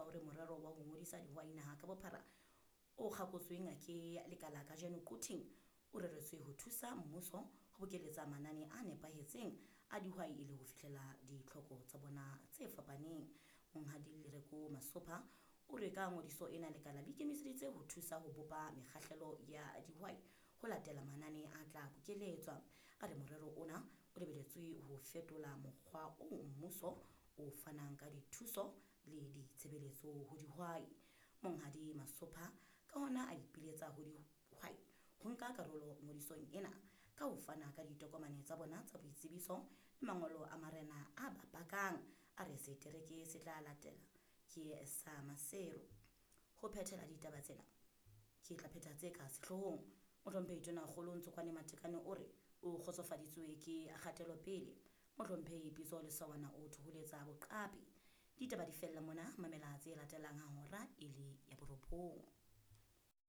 hore morero wa ho ngodisa dihwai naha ka bophara o kgakotsweng ke lekala kajeno Quthing o reretswe ho thusa mmuso ho bokeletsa manane a nepahetseng a dihwai e le ho fihlela ditlhoko tsa bona tse fapaneng. Monghadi Lereko Masopha o re ka ngodiso ena lekala le ikemiseditse ho thusa ho bopa mekgahlelo ya dihwai ho latela manane a tla bokeletswa. A re morero ona o lebeletswe ho fetola mokgwa oo mmuso o fanang ka dithuso le ditshebeletso ho dihwai. Monghadi Masopha ka hona a ipiletsa ho dihwai ho nka karolo ngodisong ena ka ho fana ka ditokomane tsa bona tsa boitsebiso le mangolo a marena a ba pakang. A re setereke se tla latela ke sa Maseru. Ho phethela ditaba tsena ke tla phetha tse ka sehloohong. Mohlomphehi Tonakgolo Ntsokoane Matekane o re o kgotsofaditswe ke kgatelopele. Mohlomphehi Pitso Lesawana o thoholetsa boqapi. Ditaba di fella mona, mamela tse latelang ha hora e le ya borobong.